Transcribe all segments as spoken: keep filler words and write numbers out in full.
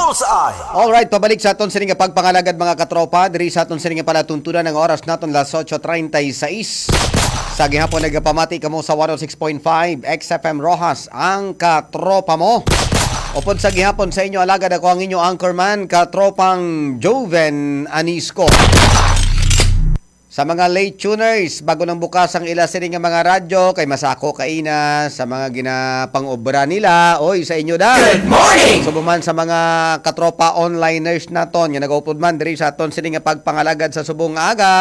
Bullseye! Alright, pabalik sa aton sini nga pagpangalagad, mga katropa. Diri sa aton sini nga palatuntunan, ang oras naton las ocho treinta y seis. Sa gihapon, nagapamati kamo sa one oh six point five X F M Roxas, ang katropa mo. Upod sa gihapon sa inyo, alagad, ako ang inyo anchorman, katropang Joven Anisco. Sa mga late tuners, bago nang bukas ang ila sini nga mga radyo, kay masako kaina sa mga ginapang-obra nila. Oy, sa inyo da. Good morning! Subong man sa mga katropa onliners naton nga nagaupod man diri sa aton sini nga pagpangalagad sa subong nga aga.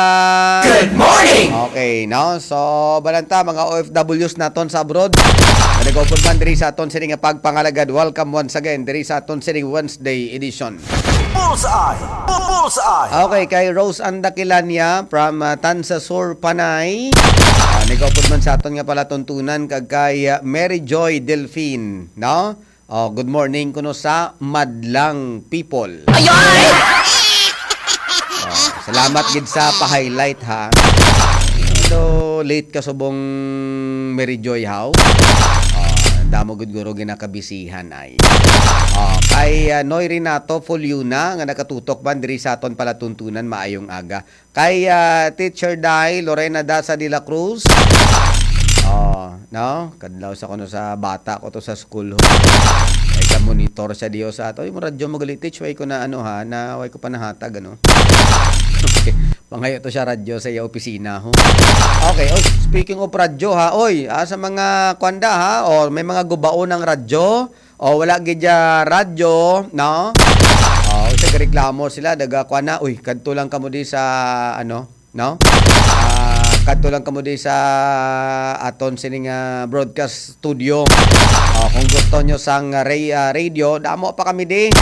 Good morning! Okay, no? So, balanta, mga O F Ws naton sa abroad nga nagaupod man diri sa aton sini nga pagpangalagad. Welcome once again diri sa aton sini Wednesday edition. Bullseye! Bullseye! Okay, kay Rose Andakilania from, ah, Tansa Sur, Panay. Ah, nagaupod man sa aton nga palatuntunan, kag kay, ah, Mary Joy Delfin, no? Oh, good morning kuno sa Madlang People. Ay, ay! Oh, salamat gid sa pa-highlight, ha. Pero late ka subong Mary Joy, haw. Oh, damo gud guro ginakabisihan ay. Oh, kay, ah, Noy Renato Fuliuna nga nakatutok man diri sa aton palatuntunan, maayong aga. Kay, ah, Teacher Day, Lorena Daza de la Cruz. Oh, no? Kadlaw sa kuno sa bata ko to sa school, ho. Ay, ka monitor sa Dios ato. Yung radyo mo gali, teach, way ko na ano ha, na way ko pa nahatag, ano? Okay. Pangayo to siya radyo sa iya opisina, ho. Okay, oh, speaking of radyo ha, oy, ah, sa mga kwanda ha, o may mga gubaon ng radyo, o wala gid ya radyo, no? O, sa reklamo sila, daga kwa na, uy, kadto lang kamo di sa, ano, no? Ah, kadto lang kamo di sa aton sining, ah, broadcast studio. O, kung gusto nyo sang ra-, ah, radio, damo pa kami di.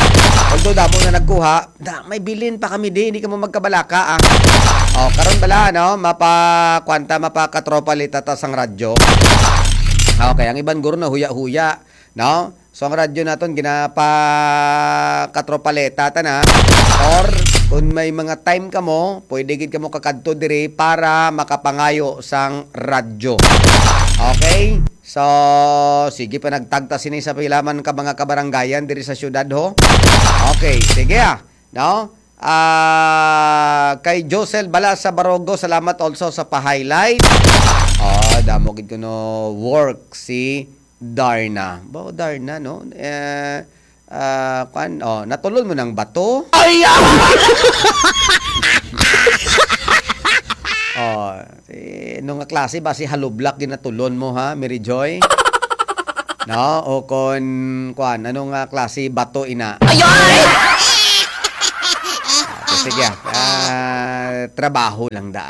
Although damo na nagkuha, da, may bilin pa kami di, hindi kamo magkabalaka, ah. O, karon bala, no? Mapa, kwanta, mapakatropa lita ta sang radyo. Okay, ang iban guro na huya-huya, no? So, ang radyo naton ginapa katropaleta ta na. Or, kung may mga time kamo, pwede gid kamo kakadto diri para makapangayo sang radyo. Okay? So, sige pa nagtagta sini sa pilaman ka mga kabaranggayan diri sa syudad, ho. Okay, sige, ah. No? Ah, kay Josel Balasa Barogo, salamat also sa pa-highlight. Oh, damo gid kuno work si Darna. Ba, Darna, no? Eh, ah, kwan, oh, natulon mo ng bato? Ay, ah! Oh, eh, ano nga klase ba si halublak ginatulon mo, ha, Mary Joy? No? O kon, kwan, ano nga klase bato ina? Ay, ay! Ah, sige, ah, trabaho lang da.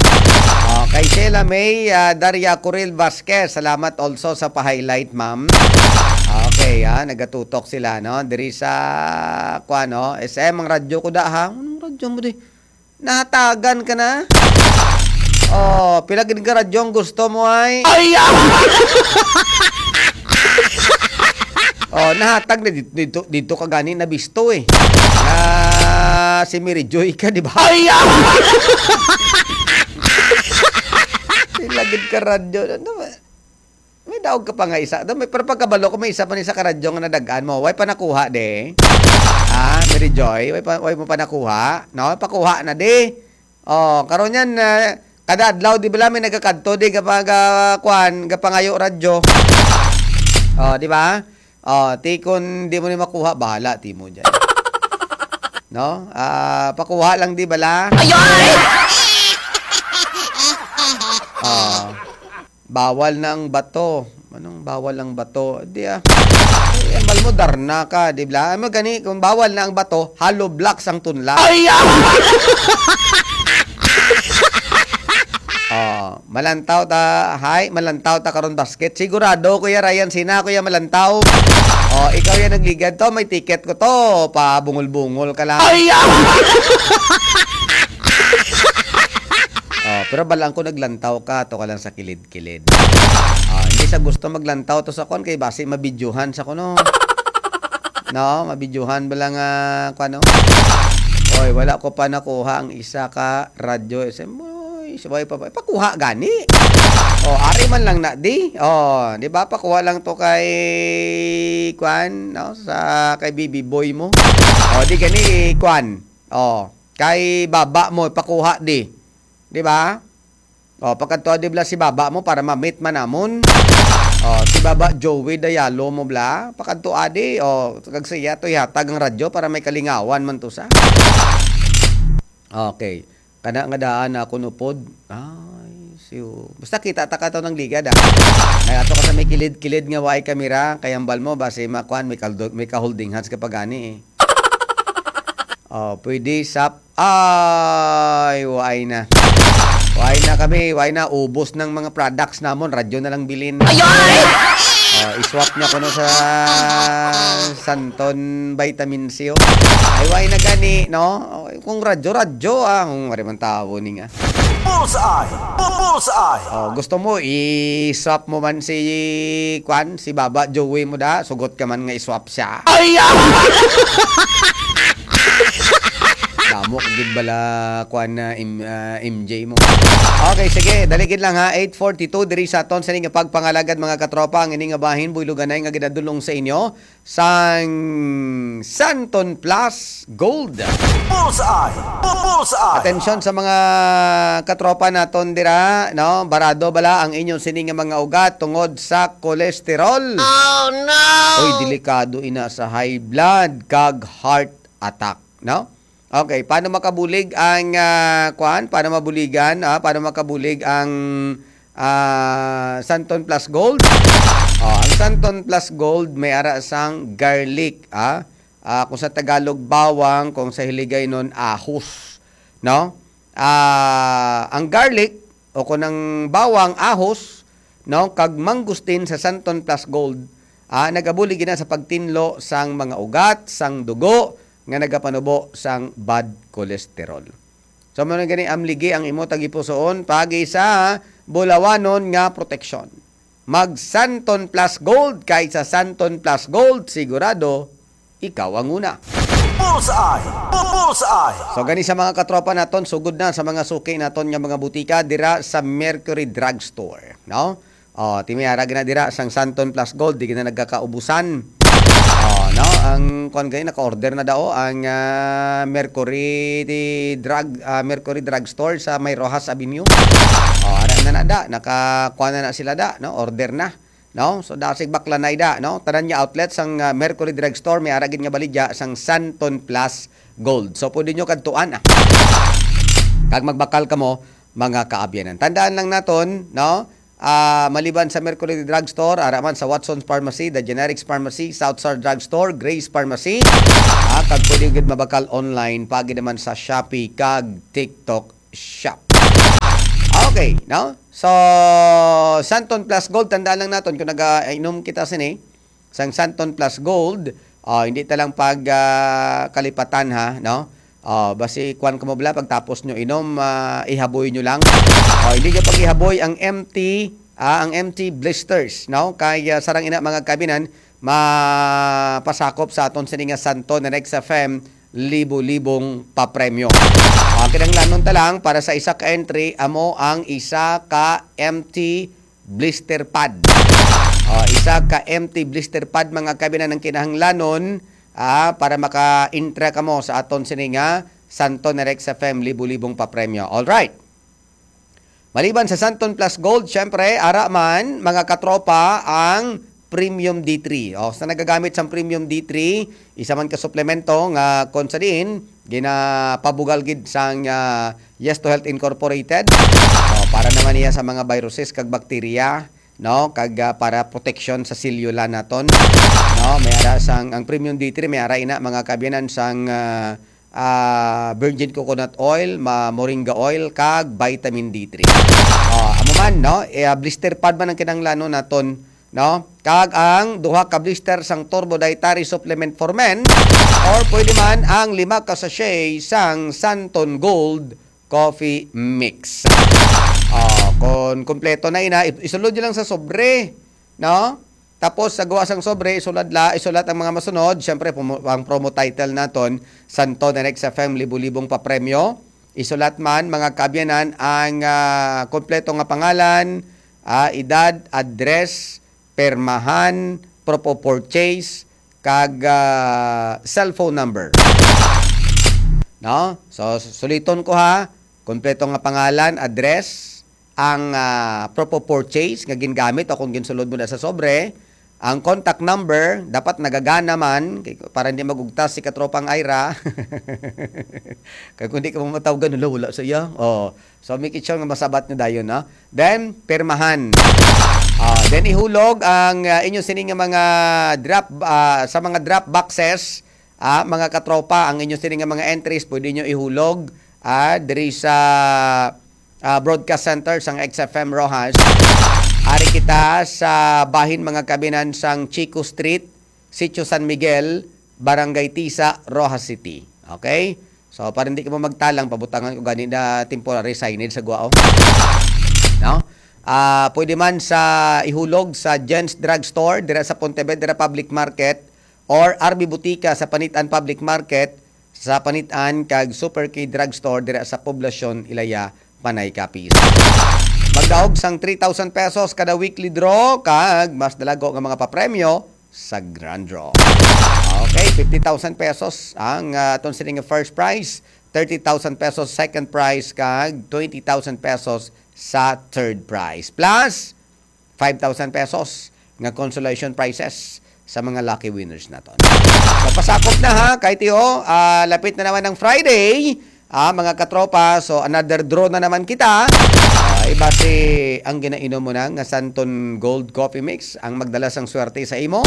Oh, kay Sheila May, ah, Daria Coril Vasquez, salamat also sa pa-highlight, ma'am. Okay, ah, nagatutok sila, no? Diri sa, kwan, no? S M ang radyo ko da, ha? Anong radyo mo di? Nahatagan ka na? Oh, pila gid ka radyo ang gusto mo ay? Ay, ah! Oh, nahatag na dito, dito, dito ka gani nabisto eh. Ah, si Mary Joy ka, di ba? Ay, ah! Pila gid ka radyo. Ano ba? May daog ka pa nga isa. Do, may, pero pagkabalo ko, may isa pa ni sa karadyo nga nadagaan mo. Way pa nakuha, de? Ha, Mary Joy? Way pa, way mo pa nakuha? No? Pakuha na, de. Oh, karon yan, ah, kada adlaw, di bala, may nagakadto, di, kapag, ah, kwan, kapangayo radyo. Oh, di ba? Oh, ti, kung di mo ni makuha, bahala, ti mo dyan. No? Ah, pakuha lang, di bala? Ay, ay! Oh. Bawal na ang bato. Anong bawal ang bato? Di ah. Eh, ambal mo, Darna ka, di ba? Ano gani, kung bawal na ang bato, hollow blocks ang tunla. Ay, ah! Oh, malantaw ta, hay, malantaw ta karon basket. Sigurado, Kuya Ryan, sina, Kuya Malantaw. Oh, ikaw yan nagligad to, may ticket ko to. Pabungol-bungol ka lang. Ay, ah! Oh, pero balang ko naglantaw ka, to ka lang sa kilid-kilid. Ah, hindi sa gusto maglantaw to sa kon kay basi mabidyohan sa kuno. No, mabidyohan ba lang, ah, kuno? Oy, wala ko pa nakuha ang isa ka radyo. Isa, oy, Sabay pa ba? Pakuha gani. Oh, ari man lang na di. Oh, di ba? Pakuha lang to kay, kwan, no? Sa kay baby boy mo. Oh, di gani, kwan. Oh, kay baba mo, pakuha di. Di ba? Oh, pakadto di bala si baba mo para ma-meet man namon. Oh, si baba Joey Dayalo mo bala. Pakadto adi. Oh, kag siya to ihatag ang radyo para may kalingawan man to sa. Okay. Kana nga daan ako nupod. Ay, siyo. Basta kita ta ka to ng ligad, ah. May ato ka sa may kilid-kilid nga waay kamera, kay ambal mo, basi makuan, may kaldo-, may ka-holding hands ka pa gani, eh. Oh, pwede sap-, ay, waay na. Waay na kami, waay na. Ubos ng mga products namon, radyo na lang bilin. Ay, ay! Oh, iswap niya kuno sa Santon Vitamin C, oh. Ay, waay na gani, no? Oh, kung radyo, radyo, ah. Kung wari man tawo ni nga. Bullseye! Bu-, bullseye! Oh, gusto mo, i-swap mo man si, kwan, si Baba Joey mo da? Sugot ka man nga i-swap siya. Ay, ah! Damo ka gid bala, kwan, na M-, ah, M J mo. Okay, sige, dali gid lang ha. Eight forty-two diri sa aton sa ining pagpangalagad, mga katropa, ang ining bahin, buyloganay nga ginadulong sa inyo sang Santon Plus Gold. Bullseye! Bu-, bullseye! Atensyon sa mga katropa naton dira, no? Barado bala ang inyong sini nga mga ugat tungod sa kolesterol. Oh, no! Uy, delikado ina sa high blood kag heart attack, no? Okay, paano makabulig ang, ah, kuan? Paano mabuligan, ah? Paano makabulig ang, ah, Santon Plus Gold? Oh, ang Santon Plus Gold may ara sang garlic, ah? Ah, kung sa Tagalog, bawang, kung sa Hiligaynon, ahos, no? Ah, ang garlic, o kung ang bawang, ahos, no, kag mangustin sa Santon Plus Gold, ah, nagabulig gina sa pagtinlo sang mga ugat, sang dugo nga nagapanubo sang bad cholesterol. So, mao na gani amligi ang imo tagipusoon pagi sa bulawanon nga proteksyon. Mag Santon Plus Gold, kay sa Santon Plus Gold, sigurado ikaw ang una. Bullseye! Bu-, bullseye! So, gani sa mga katropa naton, sugod na sa mga suki naton nga mga butika dira sa Mercury Drugstore, no? Oh, ti may ara gina dira sang Santon Plus Gold, di gina nagkakaubusan. Oh, no? Ang, kuwan gani, naka-order na daw ang, ah, Mercury Drug, ah, Mercury Drugstore sa may Roxas Avenue. Oh, ara na na da, naka, kuwan na na sila da, no? Order na. No? So, dasig baklanay da, no? Tanan nga outlet sang, ah, Mercury Drugstore, may ara gid nga baligya sang Santon Plus Gold. So, pwede nyo kadtuan, ah. Kag magbakal kamo, mga kaabyanan. Tandaan lang naton, no? Ah, maliban sa Mercury Drugstore, ara man sa Watson's Pharmacy, The Generics Pharmacy, South Star Drugstore, Grace Pharmacy. Ah, kag pwede gid mabakal online, pagi naman sa Shopee kag TikTok Shop. Okay, no? So, Santon Plus Gold, tandaan lang naton, kung nagainom kita sini, sang Santon Plus Gold, ah, hindi ta lang pag, ah, kalipatan, ha, no? Ah, basi kuwan ka mo bala, pagtapos nyo inom, ah, ihaboy nyo lang. Ah, hindi nyo pag-ihaboy ang M T, ah, ang M T blisters, no? Kay, ah, sarang ina, mga kabinan, mapasakop sa aton sini nga Santon Next F M, libo-libong papremyo. Ah, kinahanglanon ta lang para sa isa ka entry, amo ang isa ka M T blister pad. Ah, isa ka M T blister pad, mga kabinan, ang kinahanglanon, ah, para maka-intra kamo sa aton sini nga Santon Next F M, libo-libong papremyo. All right. Maliban sa Santon Plus Gold, syempre, ara man, mga katropa, ang Premium D three. O, sa nagagamit sang Premium D three, isa man ka suplemento nga kon sa diin, ginapabugal gid sang, ah, Yes to Health Incorporated. O, para naman niya sa mga viruses kag bakterya, no? Kag, ah, para proteksyon sa selula naton, no? May ara sang, ang Premium D three, may ara ina, mga kaabyanan, sang, ah, ah, virgin coconut oil, ma-, moringa oil, kag vitamin D three. Ah, amo man, no? Eh, ah, blister pad man ang kinahanglanon naton, no? Kag ang duha ka blister sang Turbo Dietary Supplement for Men, or pwede man ang lima ka sachet sang Santon Gold Coffee Mix. Ah, kon kompleto na ina, i-, isulod nyo lang sa sobre, no? Tapos, sa gawa sang sobre, isulat la, isulat ang mga masunod. Siyempre, pumo-, ang promo title naton, Santon Next F M, libo-libong papremyo. Isulat man, mga kaabyanan, ang, ah, kompleto nga pangalan, ah, edad, address, permahan, proof of purchase, kag, ah, cellphone number. No? So, suliton ko ha, kompleto nga pangalan, address, ang, ah, proof of purchase nga gingamit o kung ginsulod mo na sa sobre, ang contact number, dapat nagagana man, kay, para hindi magugtas si Katropang Ira. Kay kung di ka mo matawgan, wala, wala sa iya. Oh. So, make it sure nga masabat nyo dayon, no? Then, pirmahan. Ah, then, ihulog ang, ah, inyo sini nga mga drop, ah, sa mga drop boxes, ah, mga katropa, ang inyo sini nga mga entries, pwede nyo ihulog, ah, diri sa, ah, broadcast center sang X F M Roxas. Ari kita sa bahin, mga kaabyanan, sang Chico Street, Sitio San Miguel, Barangay Tisa, Roxas City. Okay? So, para hindi ka mo magtalang, pabutangan ko gani na temporary signage sa Guao. No? Ah, pwede man sa ihulog sa Jen's Drugstore, dira sa Pontevedra Public Market, or R B Butika sa Panitan Public Market, sa Panitan kag Super K Drugstore dira sa Poblacion Ilaya, Panay Capiz. Magdaog sang three thousand pesos kada weekly draw kag mas dalago nga mga papremyo sa grand draw. Okay, fifty thousand pesos ang, ah, aton sini nga first prize, thirty thousand pesos second prize, kag twenty thousand pesos sa third prize. Plus, five thousand pesos nga consolation prizes sa mga lucky winners naton. So, pasakop na ha, kay tiyo, ah, lapit na naman ang Friday, ah, mga katropa. So, another draw na naman kita. Ah, iba si ang ginainom mo na nga Santon Gold Coffee Mix ang magdala sang swerte sa imo,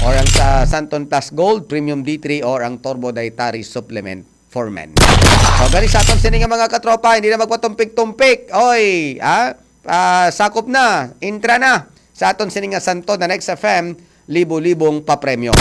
or ang sa Santon Plus Gold Premium D three, or ang Turbo Dietary Supplement for Men. So, gani sa aton sini nga mga katropa, hindi na magpatumpik-tumpik. Oy, ah, ah, sakop na, intra na sa aton sini nga Santon na Next F M, libo-libong papremyo.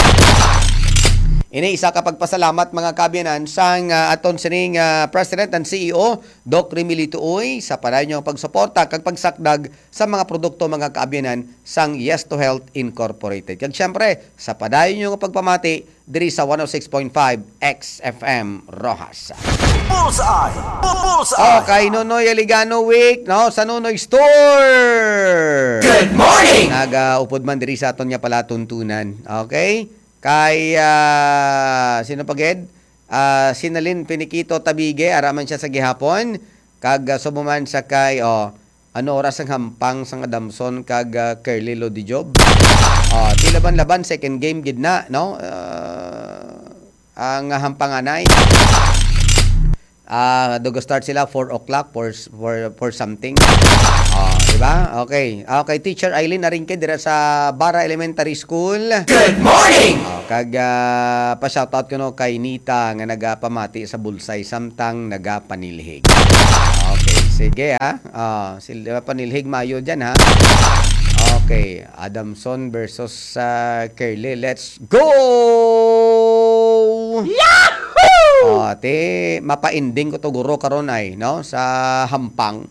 Ini isa ka pagpasalamat, mga kaabyanan, sang, ah, aton sini nga President and C E O, Doc Remilito Uy, sa padayon nga pagsuporta kag pagsakdag sa mga produkto, mga kaabyanan, sang Yes to Health Incorporated. Kag siyempre, sa padayon nga pagpamati diri sa one oh six point five X F M Roxas. Bullseye! Bu-, Bullseye! Oh, kay Nonoy Aligano Week, no? Sa Nonoy Store! Good morning! Nagaupod man diri sa aton nga palatuntunan. Okay? Kay, ah, sino pa gid? Ah, Sinalin Piniquito Tabige, ara man siya sa gihapon. Kag, ah, subo man sa kay, oh, ano oras ang hampang sang Adamson kag, ah, Curly Lodi Job? Ah, ti laban-laban, second game gid na, no? Ah, ang hampanganay. Ah, dugo start sila four o'clock, four, four, four something. Oh, di ba? Okay. Okay, Teacher Eileen Aringke dira sa Bara Elementary School. Good morning! Oh, kag, ah, pa-shoutout ko, no, kay Nita nga nagapamati sa Bulsay samtang nagapanilhig. Okay, sige, ha. Ah, sila panilhig mayo dyan, ha. Okay, Adamson versus, ah, Curly. Let's go! Yahoo! Oh, ti, mapa-ending ko to guro karon ay, no, sa hampang.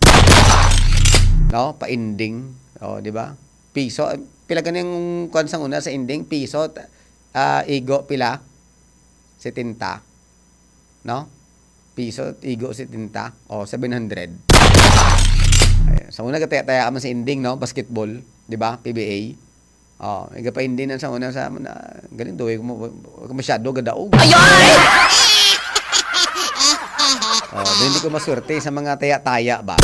No, pa-ending. Oh, di ba? Piso, pila gani ang kuwan sang una sa ending? Piso, ta-, ah, igo pila? Setenta. No? Piso, igo setenta. O, seven hundred. Ay, sa una, kataya-taya man sa ending, no? Basketball, di ba? P B A. Oh, iga pa ending na sa una sa, na, galing daw, eh, kung, kung masyado gadaog. Ay, ay! Oh, di, hindi ko maswerte sa mga taya-taya ba?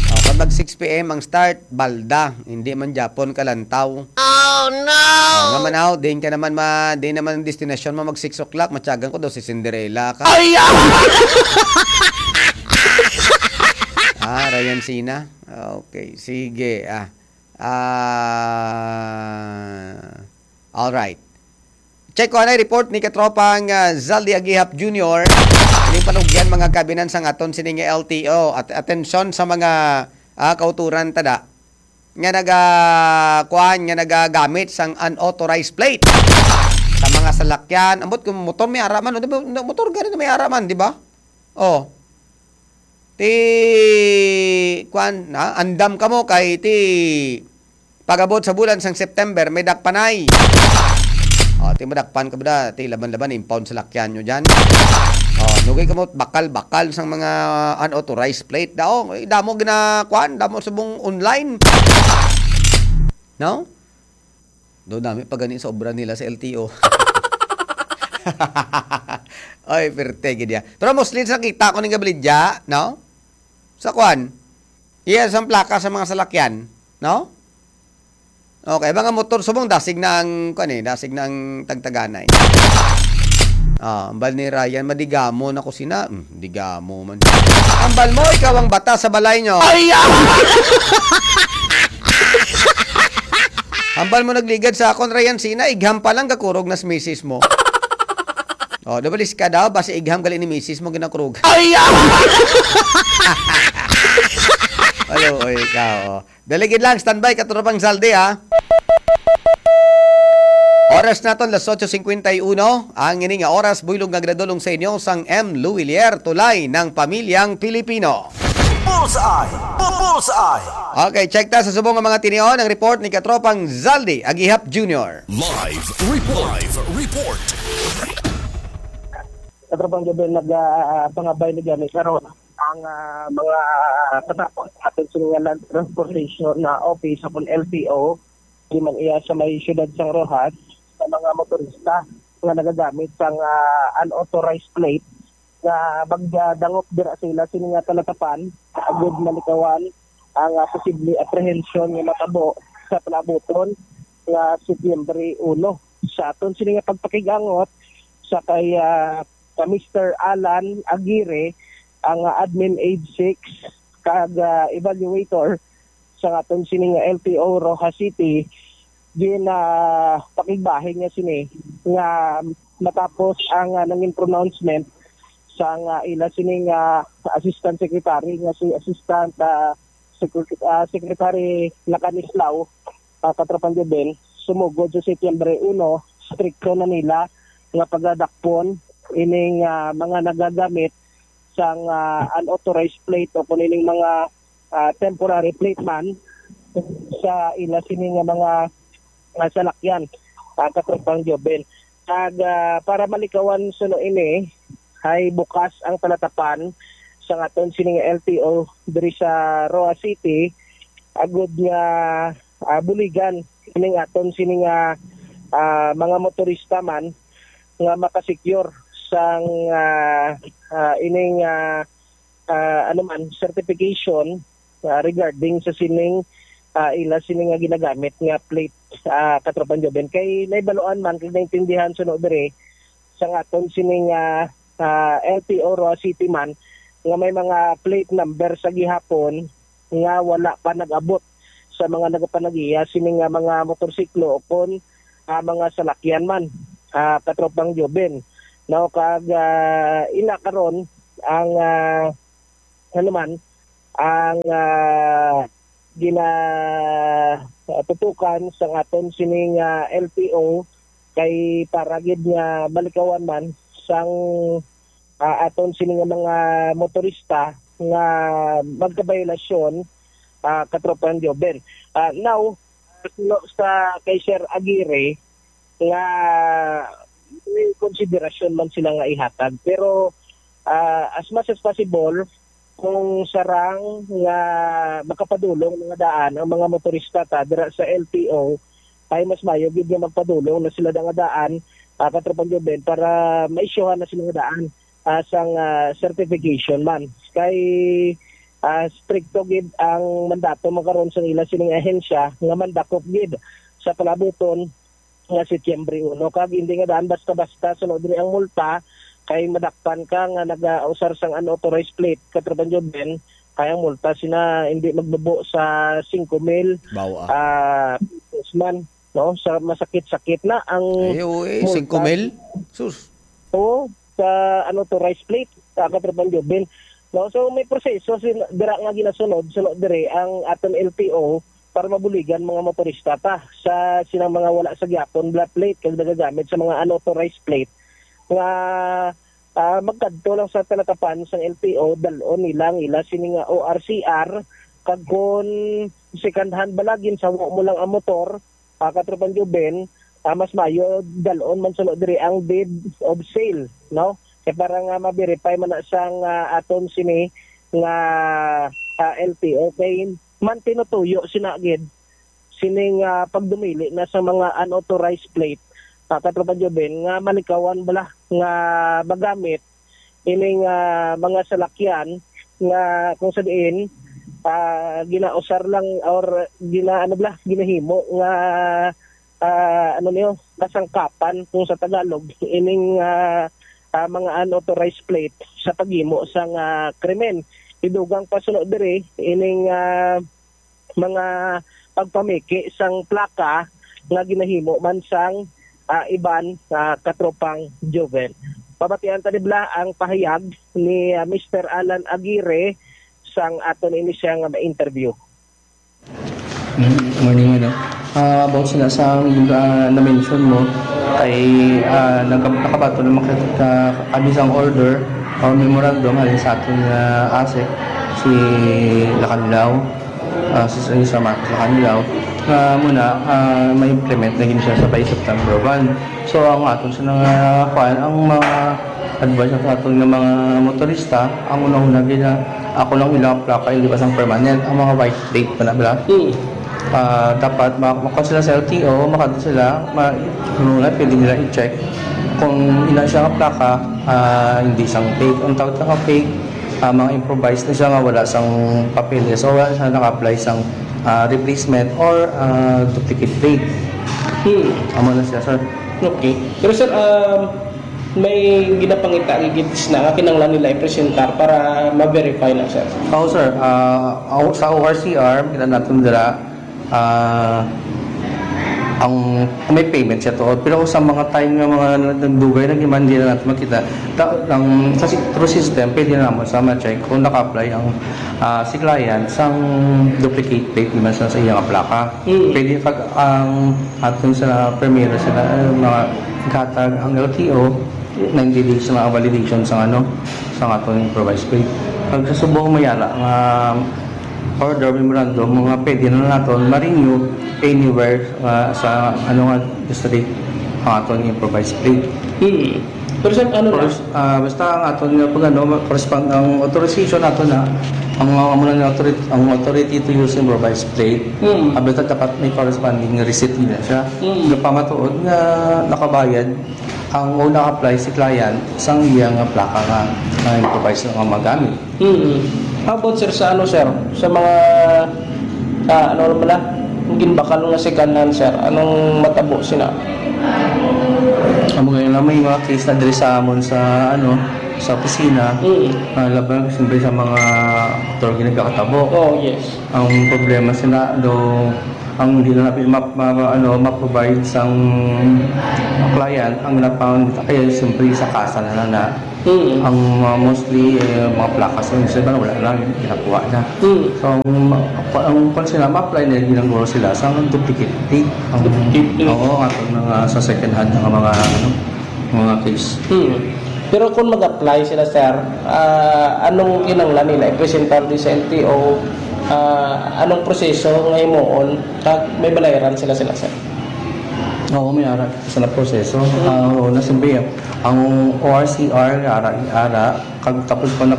Oh, kag mag six P M ang start, balda, hindi man Japon kalantaw. Oh, no! Oh, nga man, aw, din ka naman ma-, di naman ang destinasyon mo mag six o'clock, matyagan ko daw si Cinderella ka. Ay, ah! Ah, Ryan Sina. Okay, sige, ah. Ah, all right. Check ko anay report ni katropang, ah, Zaldi Agihap Junior. Ining panugyan, mga kabinan, sang aton sining L T O. At atensyon sa mga, ah, kauturan tada nga naga, kuan, nga nagagamit sang unauthorized plate sa mga salakyan. Ambot kung motor may ara man, o, di ba? Motor gani na may ara man, di ba? Oh. Ti, kuan, ha? Andam kamo kay ti pag-abot sa bulan sang September, may dakpanay. O, ti madakpan ka ba da? Ti laban-laban, impound sa lakyan nyo dyan. O, Dugay kamo bakal-bakal sang mga unauthorized plate daw. Eh, damo gina-, kuan, damo subong online. No? Do dami pa gani sa obra nila sa L T O. Oy, perte gid ya. Pero mostly sa kita ko ning gabalidya, no? Sa kuan. Iya, sa plaka sa mga salakyan, no? Okay, mga motor subong dasig na ang kuan eh, dasig na ang tagtaganay. Ah, ambal ni Ryan, madigamo na ko sina. Hmm, digamo man. Ambal mo, ikaw ang bata sa balay nyo. Ay, ah! Ambal mo nagligad sa akon, Ryan Sina, igham pa lang gakurog nas misis mo. Oh, dabalis ka daw, basi igham gali ni misis mo ginakurog. Ay, ah! Hello, oy, ikaw, oh. Dali gid lang, standby, katropang Zaldi, ha? Oras naton, las ocho cincuenta y uno. Ang ini nga oras, buylog nga gradulong sa inyo sang M. Luwilier, tulay ng pamilyang Pilipino. Bullseye! Bu-, Bullseye! Okay, check ta sa subong nga mga tinion ang report ni katropang Zaldi Agihap Junior. Live report. Live report. Katropang Jobel, nag, ah, pangabay ni gani karon ang, ah, mga katapos atin sa mga land transportation na office o kung L T O, di man iya sa may siyudad sang Roxas, sa mga motorista nga nagagamit sang, ah, unauthorized plate nga magdangop dira sa ila sini nga talatapan, agud malikawan ang, ah, posible apprehension nga matabo sa palabuton nga Setyembre uno. Sa aton sini nga pagpakig-angot sa kay, ah, ka Mister Alan Aguirre, ang, ah, admin aid six kag, ah, evaluator sa aton sini nga L T O Roxas City, gin, ah, pakigbahin niya sini nga matapos ang, ah, nangin pronouncement sang, ah, ila sini nga assistant secretary nga si assistant, ah, Secret-, ah, Secretary Lacanislao, ah, Katropang Jobel, sumugod sa Setyembre uno, strikto na nila nga pagadakpon ining, ah, mga nagagamit sang, ah, unauthorized plate o kung ining mga, ah, temporary plate man sa ila sini nga mga, ah, salakyan, ah, Katropang Jobel. Kag, ah, para malikawan suno ini, ay bukas ang talatapan sa aton sini nga L T O diri sa Roxas City, agud nga, ah, buligan ning aton sini nga, ah, mga motorista man nga makasecure sang, ah, ah, ining, ah, ah, ano man, certification, ah, regarding sa sining, ah, ila sini nga ginagamit nga plate, ah, Katropang Joven. Kay naibaluan man kag naintindihan suno diri sa aton sini nga, ah, L T O Roxas City man nga may mga plate number sa gihapon nga wala pa nag-abot sa mga nagapanagiya sini nga mga motorsiklo o kon, ah, mga salakyan man, ah, Katropang Joven. No, kag, ah, ila karon ang, ah, ano man, ang, ah, gina-, ah, tutukan sang aton sining, ah, L T O kay para gid nga malikawan man sang, ah, aton sini nga mga motorista nga magkabayolasyon, ah, Katropang Joven. Ah, now, suno sa kay Sir Aguirre nga may konsiderasyon man sila nga ihatag. Pero, ah, as much as possible, kung sarang nga makapadulong nga daan ang mga motorista ta dira sa L T O, ay mas mayo gid nga magpadulong na sila da nga daan, ah, Katropang Joven, para maisyuhan na sila nga daan, ah, sang, ah, certification man. Kay, ah, strikto gid ang mandato man karon sang ila sining ahensya nga mandakop gid sa palabuton nga Setyembre uno. Kag hindi nga daan basta-basta, suno diri ang multa, kay madakpan ka nga nagausar sang unauthorized plate, Katropang Joven, kay ang multa sina hindi magbubo sa singko mil, Bawa. ah, pesos man, no? Sa masakit-sakit na ang Ay, oo, eh, multa. Singko mil? Sus. Oo, sa unauthorized plate, ah, Katropang Joven. No, so may proseso sin-, dira nga ginasunod, suno diri ang aton L T O para mabuligan mga motorista ta sa sinang mga wala sa gihapon nga plate kag nagagamit sa mga unauthorized plate nga, ah, magkadto lang sa talatapan sang L T O, dal-on nila ang ila sini nga O R C R, kag kon second hand bala, ginsawo mo lang ang motor, ah, Katropang Joven, ah, mas mayo dal-on man suno diri ang deed of sale, no? Kay para nga ma-verify man na sang, ah, aton sini nga, ah, L T O, kay man tinutuyo sina gid sining, ah, pagdumili na sa mga unauthorized plate, ah, Katropa Joven, nga malikawan bala nga magamit ining, ah, mga salakyan nga kung sa diin, ah, ginausar lang or gina-, ano bala, ginahimo nga, ah, ano niyo, kasangkapan kung sa Tagalog, ining, ah, ah, mga unauthorized plate sa paghimo sang, ah, krimen. Idugang pa suno diri, ining, ah, mga pagpamiki sang plaka nga ginahimo man sang, ah, iban, ah, Katropang Joven. Pabatian ta ni bala ang pahayag ni, ah, Mister Alan Aguirre sang aton ini siya nga ma-interview. Mm, morning, ano. Ah, about sa, sa, ah, na-mention mo, kay, ah, nagka-, nakabato naman ka, ka, kami sang order or memorandum halin sa aton, ah, ASEC, si Lacanlao, ah, si, si Sir Marcos Lacanlao, nga muna, ah, ma-implement na gid siya sa by September one. So, ang aton sa nga, kuan, ang mga advice sa aton nga mga motorista, ang una-una gid na ako lang ilang plaka, hindi pa sang permanent, ang mga white plate pa na bala. Mm. Ah, dapat ma-, makuha sila sa L T O, makadto sila, ma-, ano na, pwede nila i-check kung ina siya nga plaka, ah, hindi sang fake. Ang tawag nga fake, ah, mga improvised na siya nga wala sang papeles o wala siya naka-apply sang, ah, replacement or, ah, duplicate plate. Hmm. Amo na siya, sir. Okay. Pero, sir, um, may ginapangita gid sina nga kinahanglan nila i-presentar para ma-verify na, sir? Oo, sir. Ah, aw-, sa O R C R, kita natin dira, ah, ang may payment siya tuod. Pero sa mga time nga mga nagdugay na giman, di na natin makita. Ta-, ang, sa si-, through system, pwede na naman sa ma-check kung naka-apply ang, ah, si client sang duplicate plate naman sa, sa iyang plaka. Mm. Pwede pag ang aton sa primero sila, eh, mga gatag ang L T O, ninety days na validation sa ano, sa aton improvised plate. Pag sa subong mayala nga order memorandum, mga pwede na naton ma-renew anywhere, ah, sa ano nga district ang aton improvised plate. Hmm. Pero sir, ano na? First, ah, basta ang aton nga pag ano, ma-, correspond ang authorization nato na ang, ang, ang authority, ang authority to use improvised plate. Hmm. Ah, basta dapat may corresponding receipt nila siya. Hmm. Nga pamatuod nga nakabayad ang una apply si client sang iya nga plaka nga, nga improvised nga magamit. Mm. How about, sir, sa ano, sir? Sa mga, ah, ano naman na? Ang ginbakal nga second hand, sir. Anong matabo sina? Amo gani na may mga case na diri sa amon sa, ano, sa opisina. Mm. Ah, laban siyempre sa mga motor nga nagakatabo. Oh, yes. Ang problema sila, do, ang hindi na natin ma-, ma-, ma-, ano, ma-provide sang client, ang napangita kaya siyempre sa kasa na lang na. Mm. Ang, uh, mostly, eh, mga plaka sa inyo, wala na, ginakuha na. Mm. So, ang, ang, ang kung sila ma-apply na, ginagawa sila sa duplicate plate. Ang, duplicate plate. Oo, ang atong mga sa second hand, ang mga, ano, mga case. Hmm. Pero kung mag-apply sila, sir, ah, anong kinahanglan nila i-presentar di sa L T O? Ah, anong proseso nga himuon? Kag may balayran sila, sila, sir? Oo, may ara sa na proseso. Hmm. Ah, oo, na siyempre, ang O R C R, ara, ara, kag tapos pa na,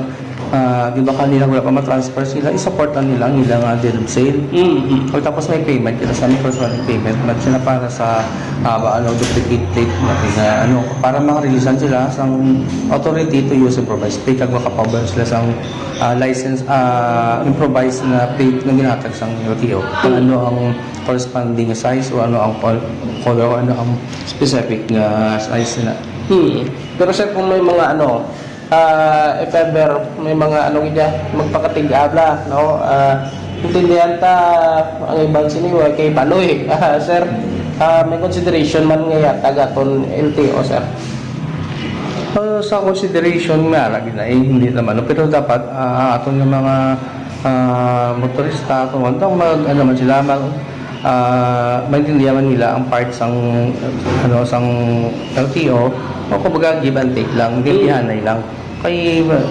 ah, di ba kanila wala pa ma-transfer sila, i-support na nila ang ilang, ah, bill of sale. Mm, mm. Pagkatapos may payment, kita sa may personal payment, man sila para sa, ah, ba, ano, duplicate plate natin na, ano, para ma-releasean sila sa authority to use improvised plate, kag makapabuy sila sa, ah, license, ah, improvised na plate na ginhatag sa L T O. Kung Mm. ano ang corresponding size o ano ang col-, color o ano ang specific nga size nila. Hmm. Pero sir, kung may mga ano, ah, if ever may mga ano gid, magpakatig-a bala, no? Ah, intindihan ta ang iban sini wa kay baloy. Ah, sir, ah, may consideration man nga ihatag aton L T O, sir? Ah, sa consideration nga ara gid na, eh, hindi naman, no? Pero dapat, ah, aton nga mga, ah, motorista, kung ano, mag, ano man sila, mag, ah, maintindihan man nila ang part sang, ano, sang L T O, o kumbaga give and take lang, Mm. gintihanay lang. Kay, uh,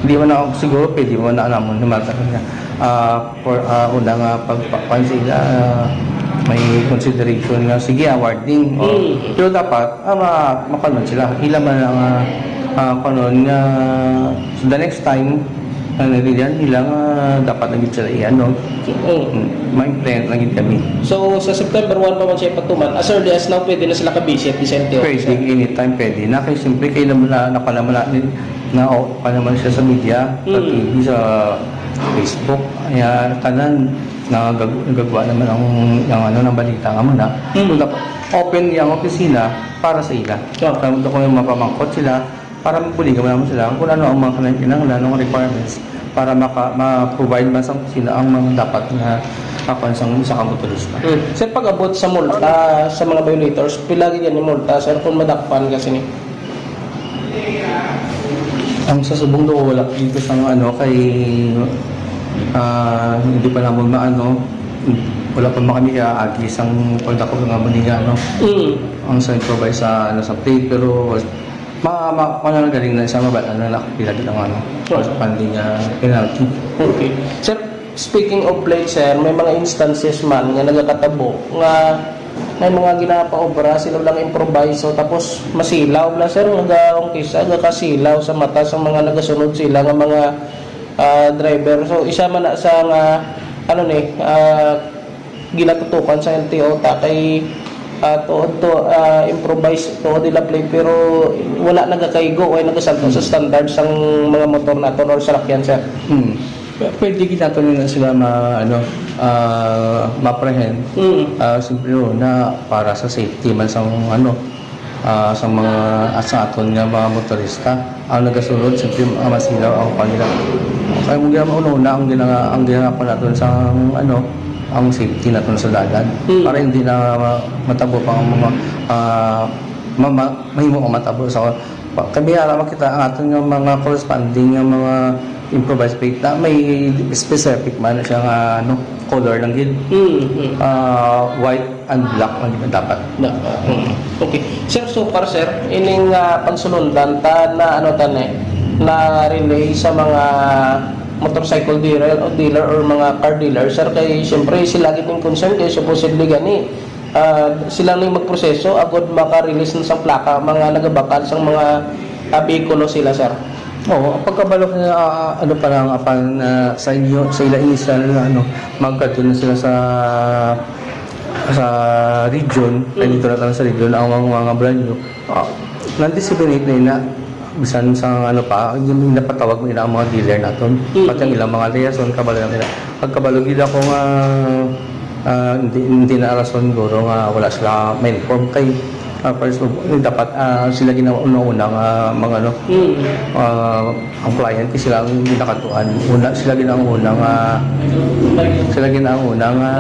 di man ako siguro pwede mo na namon, no matter nga, ah, for, ah, una nga pagpakuan sila, ah, may consideration nga, sige, awarding. O, Mm. pero dapat, ah, ma-, makuan man sila. Ila man ang, ah, Ah, kanon nga, so the next time, na nagilihan nila nga dapat na gid sila i-ano, mm, ma-implement na gid kami. So, sa September one pa man siya ipatuman, as early as now, pwede na sila ka-visit sa L T O? Pwede, anytime pwede na. Kay siyempre, kay naman na, nakuha naman na, na, o, pa naman siya sa media, sa Mm. T V, sa Facebook, kaya tanan, nagag-, nagagawa naman ang, ang ano, ng balita nga muna. Mm. So, dapat open yung opisina para sa ila. Yeah. Kaya kung may mapamangkot sila, para mabuligan mo naman sila kung ano ang mga kinahanglan, anong requirements para maka-, ma-provide man sa sila ang mga dapat nga kakuan sang isa ka motorista. Hmm. Sir, pag-abot sa multa sa mga violators, pila gid yan ni multa, sir, kung madakpan ka sini? Ang sa subong do, wala dito sa mga ano, kay, ah, hindi pa naman maano, wala pa man kami kaagi sang pagdako nga maniga, ano. Mm. Ang sa improvise sa, ano, sa plate, pero Ma, ma, ano na galing na siya, mabal-an na lang kung pila gid ang ano, Sure. Outstanding, ah, penalty. Okay. Sir, speaking of plate, sir, may mga instances man nga nagakatabo nga may mga ginapaobra, sila lang improviso, tapos masilaw na, sir, nga gaong kisa, gakasilaw sa mata sa mga nagasunod sila nga mga, ah, driver. So, isa man na sa nga, ano ni, ah, ginatutukan sa L T O ta kay, ah, tuod to, ah, improvise tuod nila plate, pero wala nagakaigo o nagasanto sa Mm. standard sang mga motor naton or salakyan, sir. Mm. P-, pwede gid naton nila sila ma-, ano, ah, ma-apprehend. Mm. Ah, siyempre, una, para sa safety man sang, ano, ah, sa mga, ah, sa aton nga mga motorista. Ang nagasunod, siyempre, ang masilaw ang panila. Kaya mo gina-, una-una ang gina-, ang ginagawa naton sa, ano, ang safety naton sa dalan. Mm. Para hindi na ma-, matabo pa ang mga, ah, ma-, ma-, mahimo ang matabo sa pa-, kami ara makita ang aton nga mga corresponding nga mga improvised plate na may specific man siya nga, ano, color lang gid. Mm, mm. Ah, white and black lang gid dapat. Dapat. Mm. Okay. Sir, so far, sir, ining, ah, pansulundan ta na, ano, ta ni, na relay sa mga motorcycle dealer o dealer or mga car dealer, sir, kay siyempre sila gid ning concern kay supposedly gani, ah, sila ning magproseso agud maka-release na sang plaka mga nagabakal sang mga, ah, behikulo sila, sir. Oo, ang pagkabalo na, ah, ano pa lang, apan, ah, sa inyo, sa ila initial na, ano, magkadto na sila sa, sa region, ay Mm. dito na tayo sa region, ang mga, mga brand new, ah, na-disseminate na ina, bisan sa, ano pa, yung napatawag mo ina ang mga dealer naton. Mm. Pati ang ilang mga liaison, kabalo na ina. Pagkabalo gid ako nga, ah, hindi, hindi na rason siguro nga wala sila ma-inform kay, ah, first of all, dapat, ah, sila ginauna-una nga mga ano, Mm. ah, ang client kay sila ang ginakatuan. Una, sila ginauna nga, sila ginauna nga,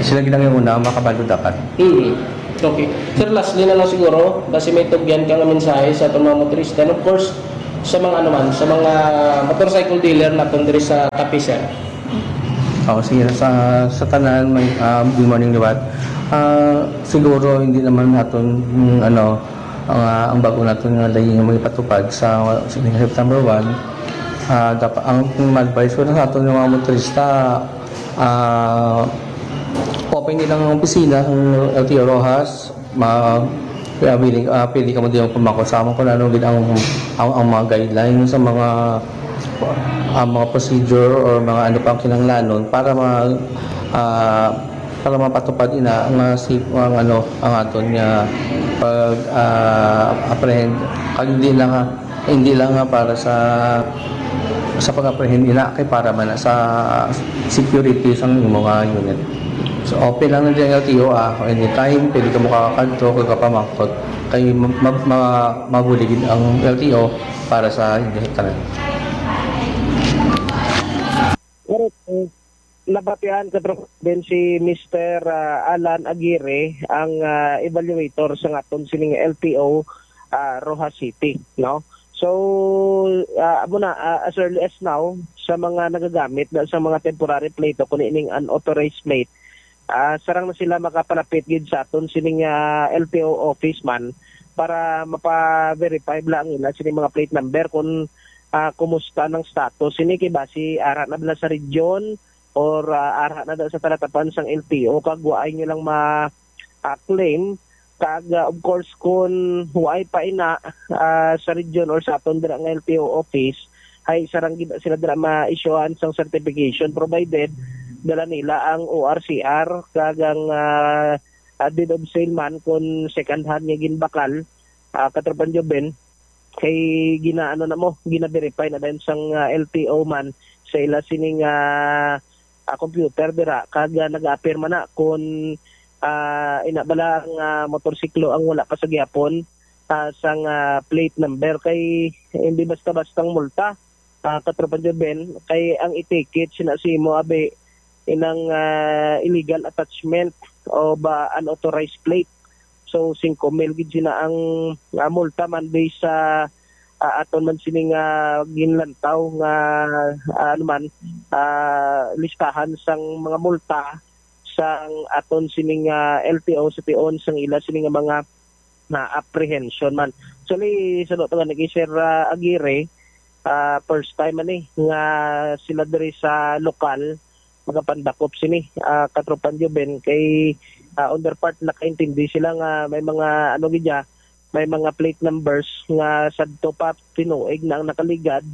sila ginauna nga makabalo dapat. Mm. Okay. Sir, lastly na lang siguro, basi may tugyan ka nga mensahe sa atong mga motorista and of course, sa mga ano man, sa mga motorcycle dealer naton diri sa Capiz, sir. Oh, sige, sa, sa tanan, may, ah, good morning, liwat. Ah, siguro, hindi naman naton, mm, ano, ang, ah, ang bago naton nga layi nga magpatupad sa, sa September one. Ah, dapat, ang, ang advice ko na sa aton nga mga motorista, ah, open din ang opisina ng L T O Roxas. Ma-, ah, pwede, ah, pwede ka mo din pumako sa amon kung ano gid ang, ang, ang mga guidelines sa mga, ang mga procedure or mga ano pang kinahanglanon para ma-, ah, para mapatupad ina nga si, ang ano, ang aton nga pag, ah, apprehend. Kag hindi lang, ah, hindi lang nga para sa, sa pag-apprehend ina, kay para man na sa security sang imo nga unit. So, open lang na ang L T O, ah. Anytime, pwede ka makakadto, kag kapamangkot. Kay ma-, ma-, ma-, mabuligid ang L T O para sa inyo tanan. Correct. Eh, nabatian ka, Tropa Ben, si Mister, ah, Alan Aguirre, ang, ah, evaluator sa aton sining L T O, ah, Roxas City, no? So, ah, amo na, ah, as early as now, sa mga nagagamit na sa mga temporary plate o kung ining unauthorized plate, ah, sarang na sila makapalapit gid sa aton sining, ah, L T O office man para mapa-verify bala ang ila sining mga plate number kung, ah, kumusta ang status sini kay basi ara na bala sa region or, ah, ara na daw sa talatapan sang L T O kag wa ay nyo lang ma-, ah, claim Kag, ah, of course, kung wala pa ina, ah, sa region or sa aton dira nga L T O office, ay sarang gid sila dira ma-issuehan sang certification, provided dala nila ang O R C R kag ang, ah, ah, deed of sale man kung second hand nga ginbakal, ah, Katropang Joven, kay ginaano na mo, gina-verify na dayon sang, ah, L T O man sa ila sining, ah, ah, computer dira, kag, ah, nag-appear man na kung, ah, ina bala ang, ah, motorsiklo ang wala pa sa gihapon, ah, sang, ah, plate number, kay hindi basta-bastang multa, ah, Katropang Joven, kay ang i-ticket sina sa imo, abi, inang, ah, illegal attachment o ba unauthorized plate. So, singko mil gid sina ang, ah, multa man based sa, ah, aton man sini nga ginlantaw nga, ah, ano man, ah, listahan sang mga multa sang aton sini nga L T O sa tion sang ila sini nga mga na apprehension man. Actually, sa luto nga nag-share, ah, Aguirre, ah, first time man ni nga sila diri sa lokal magapandakop sini, ah, Katropang Joven, kay, ah, on their part nakaintindi sila nga may mga ano gid ya, may mga plate numbers nga sadto pa tinuig na ang nakaligad,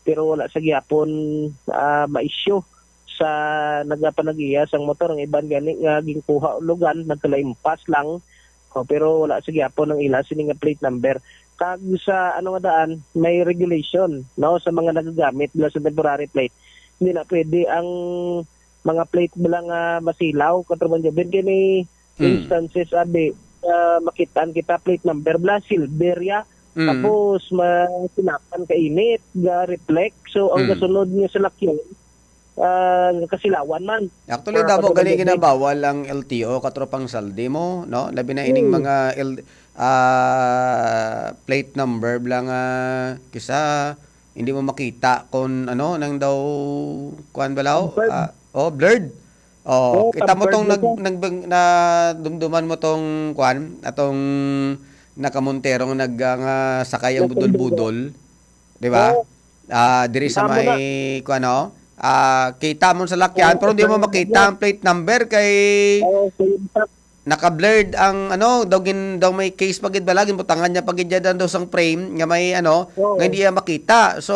pero wala sa gihapon, ah, ma-issue sa nagapanag-iya sang motor. Ang iban gani nga ginkuha ulugan, nagkalaimpas lang. O, pero wala sa gihapon ang ila sini nga plate number. Kag sa ano nga daan, may regulation, no, sa mga nagagamit nila sa temporary plate. Hindi na pwede ang mga plate bala nga masilaw, Katropang Joven, kini Mm. instances, abi, ah, makitaan kita plate number bala, silver ya. Mm. Tapos, masinapan ka init, ga reflect. So, ang Mm. gasunod nga salakyan, ah, kasilawan man. Actually, Ah, damo Katropang gani Joven. ginabawal ang L T O, Katropang Saldi mo, no? Labi na ining Mm. mga L-, ah, plate number bala nga kisa hindi mo makita kung ano, nang daw, kuwan bala, oh? Blurred. Ah, oh, blurred. Oh, Oo, kita mo tampered tong na nag-, siya. nag-, nadumduman mo tong, kuwan, atong nakamontero nga nag-, ah, nga sakay ang Nakamontero. budol-budol, di ba? Oo. Ah, diri sa Kita mo na. may, kuwan, oh, ah, kita mo sa lakyan, Oo, pero hindi mo sa makita ang plate number kay Oo, so yun pa. naka-blurred ang ano, daw gin-, daw may case pa gid bala, ginbutangan niya pa gid dyan daw sang frame nga may ano, Oo. nga hindi niya makita. So,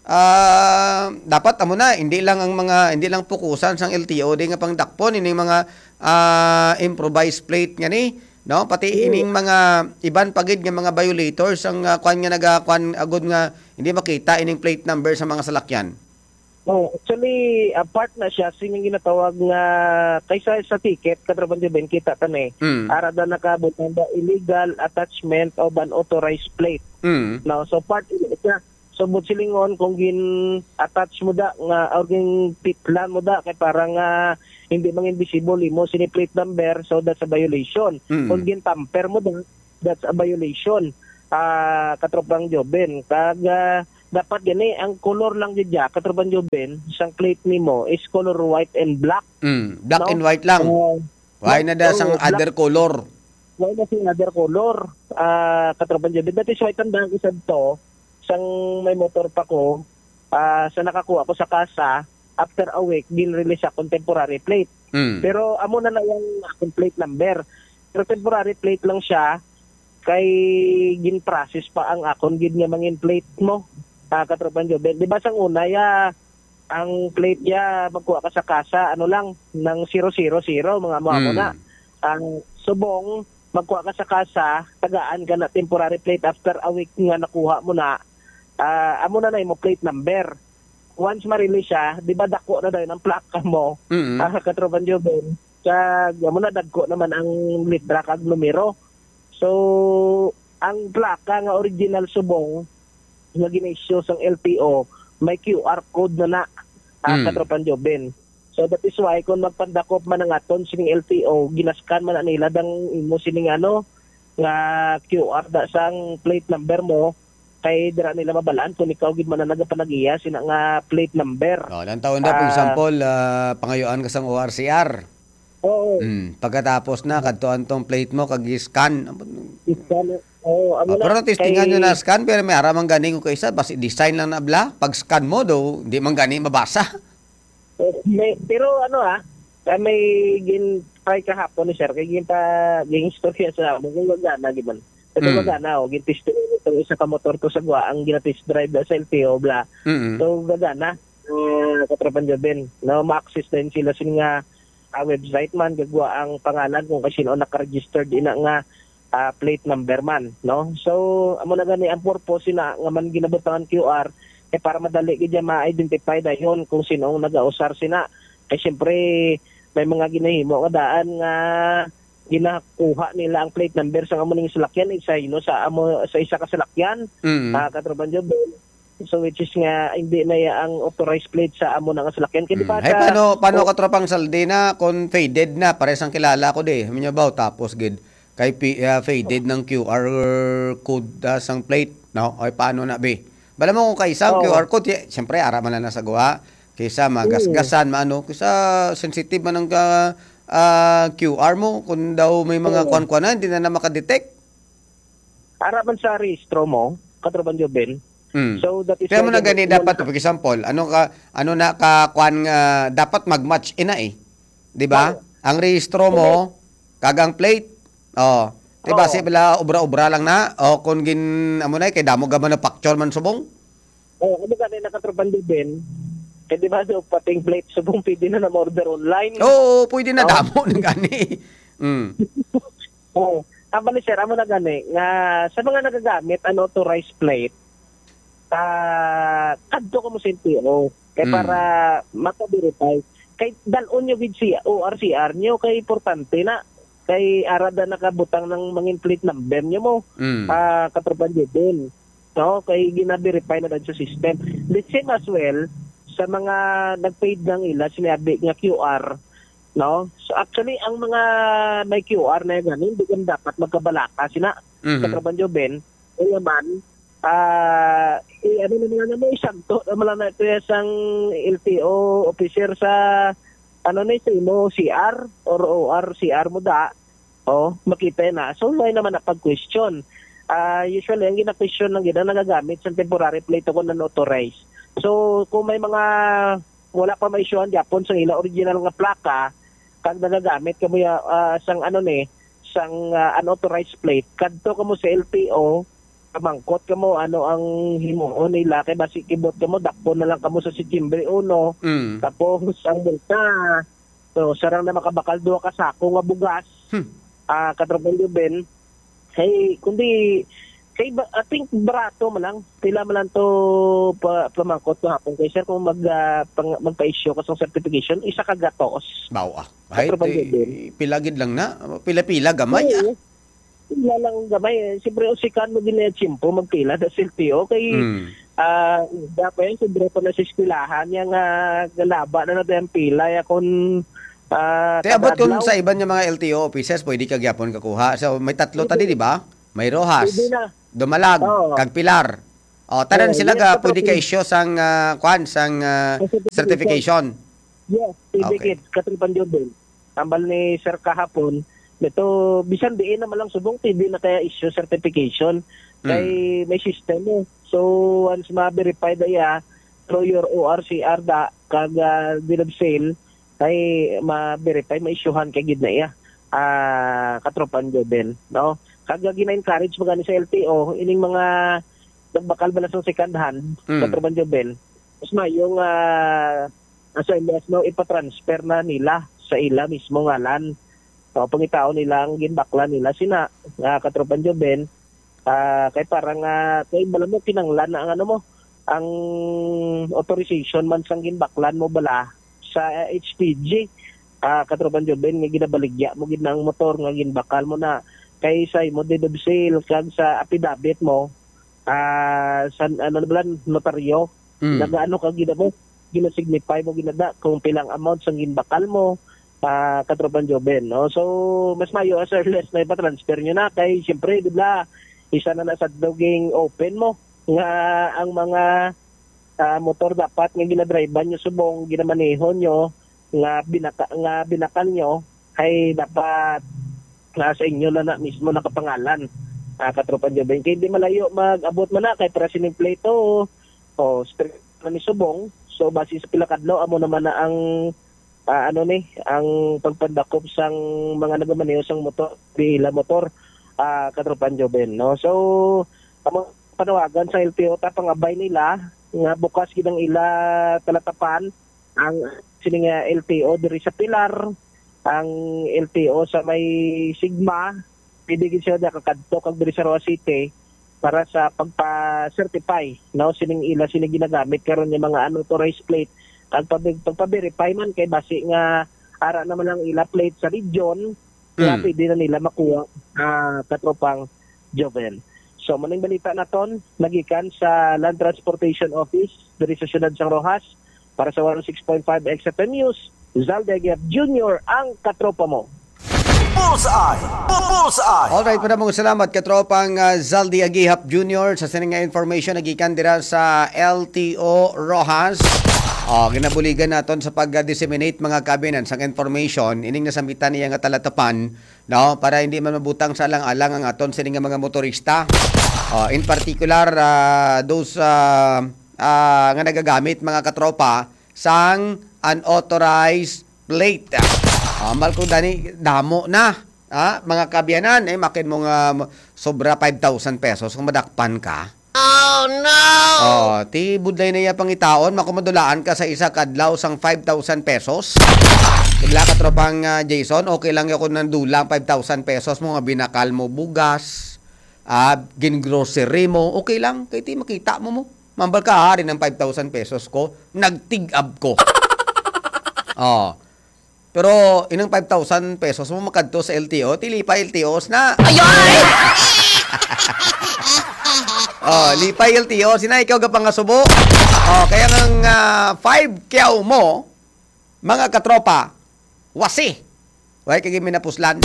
ah, dapat amo na, hindi lang ang mga, hindi lang pukusan sang L T O di nga pangdakpon ining mga, ah, improvised plate nga ni, no? Pati Oo. ining mga iban pa gid nga mga violators ang, ah, kwan nga naga-, kwan agud nga hindi makita ining plate number sa mga salakyan. Oh, actually, ah, part na siya sining ginatawag nga, kaysa sa ticket, Katropang Joven, kita ta ni, Mm. ara da nakabutang da illegal attachment of unauthorized plate. Mm. No, so part ini siya. So, but silingon, kung gin-attach mo da nga, or gin-pitlan mo da, kay parang, ah, hindi mangin visible imo sini plate number, so that's a violation. Mm. Kung gin-tamper mo da, that's a violation. Ah, Katropang Joven. Kag, ah, dapat gani, ang color lang gid ya, Katropang Joven, sang plate nimo is color white and black. Mm, black No? and white lang. Oo. Why Black, na da sang oo, black. other color? Why na sing other color? Ah, Katropang Joven. That is why tandaan ko sad to, sang may motor pa ko, ah, sa nakakuha ko sa kasa, after a week, gin-release akong temporary plate. Mm. Pero amo na na yung akong plate number. Pero temporary plate lang siya, kay gin-process pa ang akon gid nga mangin plate mo, ah, Katropang Joven. Di ba sang una, ya, ang plate ya, magkuha ka sa kasa, ano lang, nang zero zero zero, mga amo-amo Mm. na. Ang subong, magkuha ka sa kasa, tagaan ka na temporary plate after a week nga nakuha mo na, ah, amo na na imo plate number. Once ma-release siya, di ba dako na dayon ang plaka mo? Mm. Ah, Katropang Joven. Kag, amo na, dagko naman ang litra kag numero. So, ang plaka nga original subong nga gina-issue sang L T O, may Q R code na na, ah, Mm. Katropang Joven. So, that is why kung magpandakop man ang aton sining L T O, ginaskan man na nila dang imo sining ano, nga Q R da sang plate number mo, kay dira nila mabalaan kung ikaw gid man ang nagapanag-iya sina nga plate number. Oh, lang taon da, for Ah. example, ah, pangayuan ka sang O R C R. Oo. Mm, pagkatapos na, kadtuan tong plate mo, kag i-scan. Scan, oo, amo Ah, na. pero testingan nyo Kay na scan, pero may ara man gani ko kaysa, basi design lang na bala. Pag scan mo, do, di man gani mabasa. Eh, may, pero ano, ah, Ah, may gin-try kahapon ni sir, kay ginpa-, gin-istorya sa amo kung gagana, di man. Ito Mm. gagana, oh, gin-test drive ito, isa ka motor to sa Guaang, gina-test drive na sa L T O, bla. Mm. So, gagana, ah, Katropan Joven, no, ma-access din sila sin nga, ah, website man, gagwa ang pangalan kung kasino naka-registered ina nga, ah, plate number man, no? So, amo na gani ang purpose sina nga man ginabutangan Q R, eh, para madali gid niya ma-identify dayon kung sino ang nagausar sina. Kay siyempre, may mga ginahimo nga daan nga ginakuha nila ang plate number sa amo ning salakyan, isa, you know, sa amo, sa isa ka salakyan, Mm. ah, Katropan Joven. So, which is nga, hindi na ya ang authorized plate sa amo na nga salakyan. Kay di Mm. ba Hey, sa paano, paano o- Katropang Saldi na kung faded na? Pares ang kilala ko di. Amin niyo ba? Tapos gid, kay pi-, ah, faded ng Q R code, ah, sang plate, no? Ay, paano na, be? Bala mo kung kaisa ang Oo. Q R code, y-, siyempre, ara man na sa guha. Kaysa magasgasan, Mm. maano, kaysa sensitive man ang ka-, ah, Q R mo, kung daw may mga Oo. kwan-kwan na, hindi na na makadetect. Ara man sa rehistro mo, Katropan Joven. Mm. So, that is Kaya mo why na gani dapat, for example, ano ka, ano na ka, kwan nga, dapat mag-match ina eh. Di ba? Oo. Ang rehistro mo, Hindi. kag ang plate, oh, di ba, Oo. si bala, obra-obra lang na, o kung gin, amo na, eh, kay damo ga manufacture man subong. Oh, ano gani na, Katropan Joven? Kay di ba, so, pating plate subong, pwede na na order online. Oo, pwede na, Oh. damo na gani. Mm. Oo. Ang bali, sir, amo na gani, nga sa mga nagagamit unauthorized plate, ah, kadto kamo sa L T O. Kay Mm. para maka-verify. Kay dal-on nyo gid si O R C R nyo, kay importante na. Kay ara da nakabutang ng mangin plate number nyo mo, Mm. ah, Katropan Joven. No? Kay gina-verify na dan sa system. The same as well, sa mga nag-paid ng ila, sinabi nga Q R, no? So, actually, ang mga may Q R na yan, hindi yan dapat magkabalaka sina Mhm. Katropan Joven. Kaya man, ah, i-, ano naman na mo, isagto naman lang na ito ya sang L T O officer sa, ano na ito mo, C R or O R C R mo da. Oh, makita na. So, why naman na pag-question? Ah, usually, ang gina-question lang gid ang nagagamit sa temporary plate o kung unauthorized. So, kung may mga wala pa ma-issuehan gyapon sa ila original nga plaka, kag nagagamit kamo ya, ah, sang ano ni, sang, ah, unauthorized plate, kadto kamo sa L T O, pamangkot kamo ano ang himuon nila, kay basi kibot kamo, dakpon na lang kamo sa Setyembre uno, Mm. tapos ang multa, so, sarang na makabakal duha ka sako nga bugas, Hmm. ah, Katropan Joven, hey, kundi, kay ba, I think barato man lang, pila man lang to pa, pamangkot ko hapon kay sir, kung mag, ah, pang-, magpa-issue ka sa certification, isa ka gatos. Bawa. Ay, Katropan di, Joven. Pila gid lang na, pila-pila gamay, ah. Oo. Wala lang gamay, eh. Siyempre, usikan mo din na yung tiyempo, magpila na sa L T O. Kay, Mm. ah, dapat yan, sobra pa na sa eskwelahan, yung, ah, galaba na natin ang pila, ya, kung, ah, Te, abot kada kung adlaw. Sa iban nga mga L T O offices, pwede ka gyapon kakuha. So, may tatlo Pwede. Tadi, di ba? May Roxas, Pwede na. Dumalag, Oo. Kag Pilar. O, tanan Oo, sila yes, ga, pwede ka Katropan. Issue sang, ah, kwan, sang, ah, Ang certification. Certification. Yes, pwede Okay. Kit, Katropan Joven. Tambal ni Sir kahapon, nito, bisan diin naman lang subong, pwede na kaya issue certification. Kay Mm. may system eh. So, once ma-verify da iya, through your O R C R da, kag, ah, bill of sale, kay ma-verify, ma-issuehan kay gid na iya. Ah, Katropan Joven, no? Kag, ah, gina-encourage mo gani sa L T O, ining mga nagbakal bala sa second hand, Mm. Katropan Joven, mas mayo nga, ah, sa M S, no, ipatransfer na nila sa ila mismo ngalan. So, pangitaon nila ang ginbaklan nila sina, ah, Katropan Joven, ah, kay para nga, kay bala mo, kinanglan na ang ano mo, ang authorization man sang ginbaklan mo bala sa H P G, ah, Katropan Joven, nga ginabaligya mo gid na ang motor nga ginbakal mo na kay sa imo deed of sale kag sa affidavit mo, ah, sa, ano na bala, notaryo, Mm. nagaano ka gid mo, ginasignify mo ginada kung pilang amount sang ginbakal mo, ah, Katropan Joven, no? So, mas mayo as early as na ipa-transfer nyo na kay, siyempre, di ba, isa na na sa duging open mo nga ang mga, ah, motor dapat nga ginadrivean nyo subong, ginamaneho nyo, nga binaka-, nga binakal nyo, ay dapat nga sa inyo na, na mismo nakapangalan, ah, Katropan Joven. Kay di malayo mag-abot man na kay para sining plate o, o, strict na ni subong. So, base sa pila kadlaw, amo naman na ang, ah, ano ni, ang pagpadakop sang mga nagamaneho sang motor, di ila motor, ah, Katropang Joven, no? So, amo panawagan sa L T O, ta pangabay nila nga bukas gid ang ila talatapan, ang sini nga L T O diri sa Pilar, ang L T O sa may Sigma, pwede gid sila nakakadto kag diri sa Roxas City para sa pagpa-certify, no, sining ila sini ginagamit karon nga mga unauthorized plate, kag pag-, pagpa-verify man kay basi nga ara naman ang ila plate sa region, kaya Mm. pwede na nila makuha, ah, Katropang Joven. So, maning balita naton, nagikan sa Land Transportation Office, diri sa siyudad sang Roxas, para sa one oh six point five X F M News, Zalde Aguiap Junior, ang katropa mo. Bullseye! Bullseye! Alright, maraming salamat, katropang, ah, Zaldi Agihap Junior, sa sining nga information nagikan dira sa L T O Roxas. Oh, ginabuligan naton sa pag-disseminate, mga kabinan, sang information, ining nasambitan niya nga talatapan, no? Para hindi man mabutang sa alang-alang ang aton sining nga mga motorista. Oh, in particular, ah, those, ah, ah, nga nagagamit, mga katropa, sang unauthorized plate. Ah, mal ko dani, damo na. Ah, mga kabyanan, eh, makin mo nga mo-, sobra five thousand pesos kung madakpan ka. Oh, no! Oh, ti budlay na iya pangitaon, makumadulaan ka sa isa kadlaw sang five thousand pesos. Kabla ka, tropang, ah, Jason, okay lang yun kung nandulang five thousand pesos mo nga binakal mo bugas, ah, gin-grocery mo, okay lang, kay ti makita mo mo. Mambal ka, "Ah, ari ang five thousand pesos ko, nagtig-ab ko." Oh. Pero inang five thousand pesos mo makadto sa L T O, ti lipay L T Os na. Ayoy! Oh, lipay L T O, sina ikaw gapangasubo. Oh, kaya nga, ah, five kyaw mo, mga katropa, wasi. Way kay minapuslan.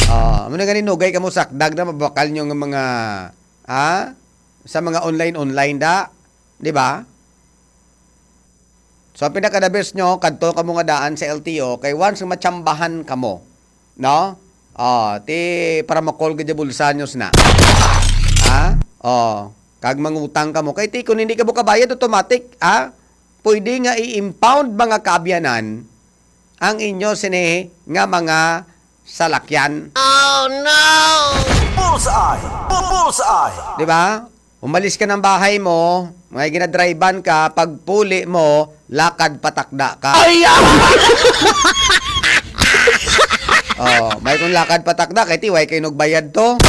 Oh, amo na gani, nugay kamo sakdag na mabakal nyo nga mga, ah, sa mga online-online da, di ba? So, ang pinaka-the best nyo, kadto kamo nga daan sa L T O, kay once nga matsambahan kamo, no? Oh, ti para makol gid ang bulsa nyo sina. Ha? Oh, kag mangutang kamo. Kay ti, kung hindi kamo kabayad, automatic, ha? Pwede nga i-impound, mga kaabyanan, ang inyo sini nga mga salakyan. Oh, no! Bullseye! Bu-, bullseye! Di ba? Umalis ka ng bahay mo, may ginadrivean ka, pagpuli mo, lakad patakda ka. Ay, ah! Oh, may kung lakad patakda, kay ti, way kay nagbayad to.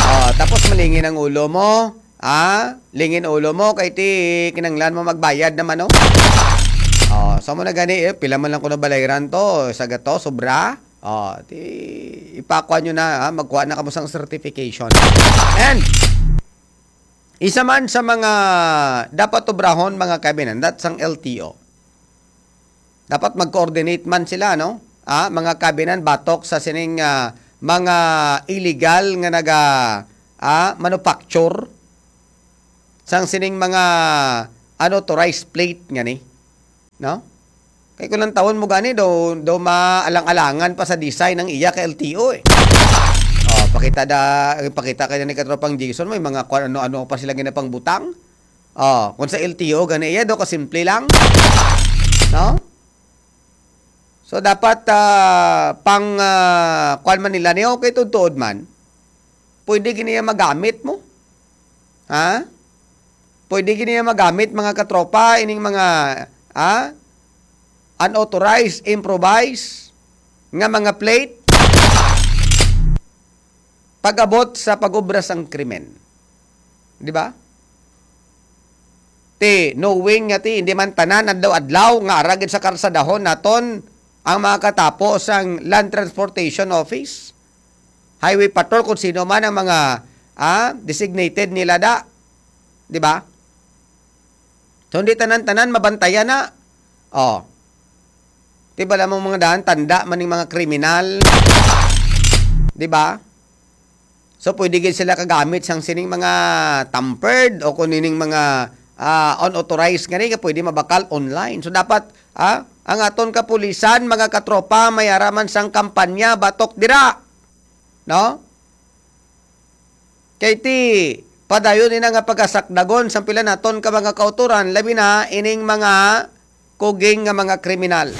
Oh, tapos malingin ang ulo mo. Ah, lingin ulo mo, kay ti, kinanglan mo magbayad naman, no? Oh, so mo na gani, eh, pila man lang ko nabalayran to, sa gato, sobra. Oh, ti, ipakuha nyo na, ha? Magkuha na kamo sang certification. And, isa man sa mga dapat obrahon, mga kabinan, that sang L T O. Dapat mag-coordinate man sila, no? Ah, mga kabinan, batok sa sining, ah, mga illegal nga naga, ah, manufacture sang sining mga unauthorized plate nga ni, no? Kay kung lantawon mo gani, daw, daw maalang-alangan pa sa design ang iya ka L T O, eh. Oh, pakita da, pakita kay ni katropang Jason, may mga kung ano-ano pa sila ginapangbutang. Oh, kung sa L T O gani iya, daw kasimple lang. No? So, dapat, ah, pang, ah, kuwan man nila ni, okay, tuod-tuod man. Pwede gini iya magamit mo. Ha? Pwede gini iya magamit, mga katropa, ining mga, ha? Unauthorized, improvised, nga mga plate. Pag-abot sa pag-obra sang krimen. Di ba? Ti, knowing nga ti, hindi man tanan adlaw-adlaw nga ara gid sa karsadahon naton ang mga katapo sang Land Transportation Office, Highway Patrol, kung sino man ang mga, ah, designated nila da. Di ba? So, hindi tanan-tanan mabantayan na. Oh. Di ba lamang mga daan, tanda man ning mga kriminal? Di ba? So, pwede gid sila kagamit sang sining mga tampered o kung nining mga, ah, unauthorized nga ni, nga pwede mabakal online. So, dapat, ah, ang aton kapulisan, mga katropa, may ara man sang kampanya batok dira. No? Kay ti, padayon ina nga pagkasakdagon sang pila naton ka mga kautoran, labi na ining mga kuging nga mga kriminal.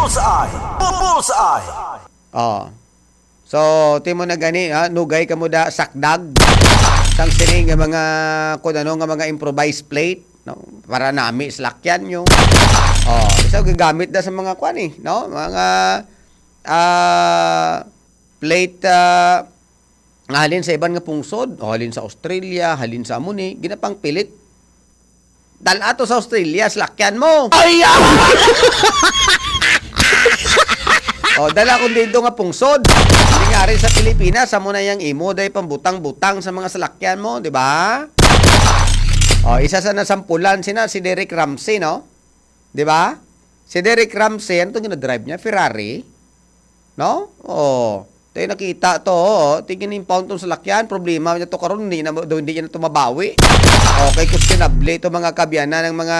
Bullseye! Bullseye! Oh. So, timo na gani, ha? Nugay ka mo da sakdag sang sini nga mga, kung ano, nga mga improvised plate, no? Para nami salakyan nyo. Oh, isa gagamit na sa mga kwan eh, no? Mga, ah, plate, ah, nga halin sa iban nga pungsod, o halin sa Australia, halin sa amo ni, ginapangpilit. Dala to sa Australia, salakyan mo. Ay, ah! O, dala kung dito nga pungsod. Hindi nga rin sa Pilipinas, amo na yang imo, day pambutang-butang sa mga salakyan mo, di ba? O, isa sa nasampulan sina si Derek Ramsey, no? Di ba? Si Derek Ramsey, ano itong ginadrive niya? Ferrari? No? O, tayo nakita to, o. Tingin impound tong salakyan, problema niya to karon, hindi na, hindi niya na to mabawi. Okay, questionable to mga kabyanan ng mga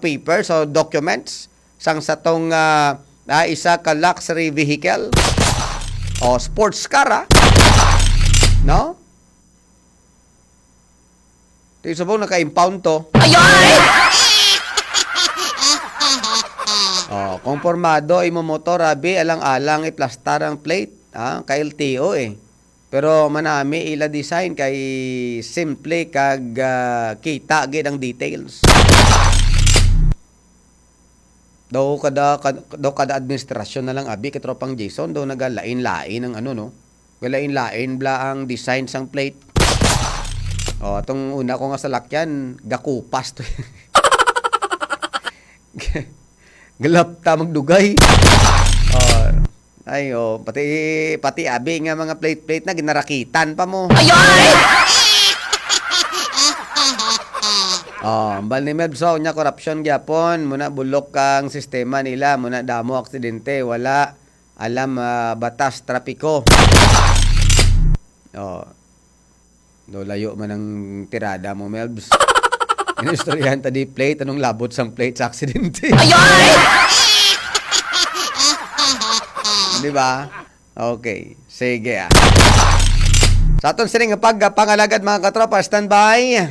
papers o documents sang sa tong, ah, ah, isa ka luxury vehicle o sports car, ah. No? Di subong naka-impound to. Ayay! Oh, kung pormado imo motor, abi, alang-alang iplastar ang plate, ah, ka L T O eh. Pero manami ila design kay simple kag, ah, kita gid ang details. Daw kada, kad-, daw kada administrasyon na lang, abi, katropang Jason, daw nagalain-lain ang ano, no? Galain-lain bla ang design sang plate. Oh, atong una ko nga salakyan, gakupas to. Galapta magdugay. Oh, ay, oh, pati, pati abi nga mga plate-plate na, ginarakitan pa mo. Ayay! Oh, ambal ni Mebs, oh, nya korupsyon gyapon, muna bulok ang sistema nila, muna damo aksidente, wala alam, ah, batas trapiko. Oh. Do layo man ang tirada mo, Mebs. Inistoryahan ta di plate, anong labot sang plate sa aksidente? Ayay! Di ba? Okay. Sige, ah. Sa aton sining pagpangalagad, mga katropa, standby.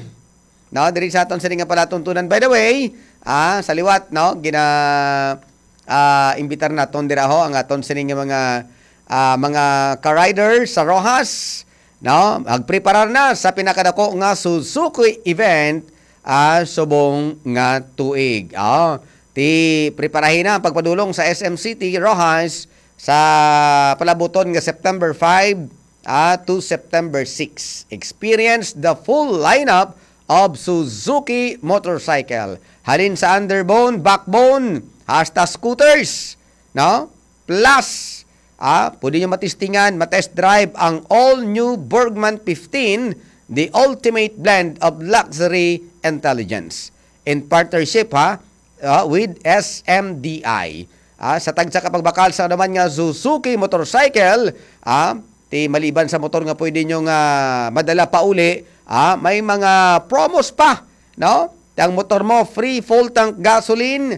No, diri sa aton sining nga palatuntunan. By the way, ah, sa liwat, no, gina-, ah, imbitar naton dira ho ang aton sining nga mga, ah, mga ka-rider sa Roxas, no? Magpreparar na sa pinakadako nga Suzuki event, ah, subong nga tuig. Ah, ti preparahin na ang pagpadulong sa S M City, Roxas, sa palabuton nga September five, ah, to September six. Experience the full lineup of Suzuki motorcycle. Halin sa underbone, backbone, hasta scooters, no? Plus, ah, pwede nyo matistingan, matest drive ang all-new Bergman fifteen, the ultimate blend of luxury intelligence. In partnership, ha, ah, with S M D I. Ah, sa tagsa ka pagbakal sa naman nga Suzuki motorcycle, ah, ti maliban sa motor nga pwede nyo nga madala pauli, ah, may mga promos pa, no? Ang motor mo, free full tank gasoline,